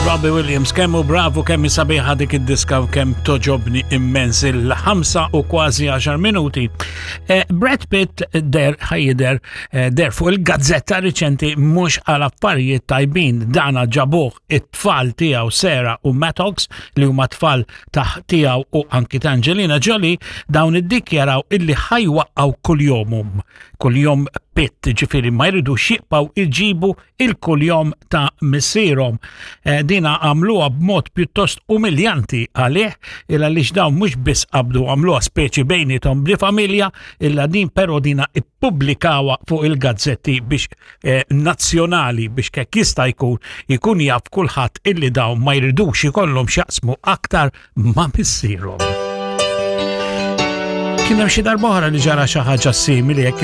Robbie Williams, kemm hu bravu, kemm sabiħa dik id-diska u kemm toġobni immens il-5 u kważi 10 minuti. Eh, Brad Pitt der ħajjider eh, der fuq il-gazzetta riċenti mhux għal affarijiet tajbin dana ġabuh it-tfal tiegħu Sarah u Mattox li huma tfal ta' tiegħu u anki ta' Angelina Jolie dawn iddikjaraw illi ħajwaqqgħu kuljomhom kuljom Pitt ġifieri ma jridux jibqgħu iġibu il-kuljom ta' missierhom. Eh, dina għamluha b'mod pjuttost umiljanti għalih il għaliex dawn mhux biss qabdu għamluha speċi bejnietom bli familja illa din però dina ippubblikawha fuq il-gazzetti biex eh, nazzjonali biex kek jista' jkun ikun jaf kulħadd illi dawn ma jridux ikollhom x'jaqsmu aktar ma' missierhom. Kien hemm xi darba oħra li ġara xi ħaġa simili jekk.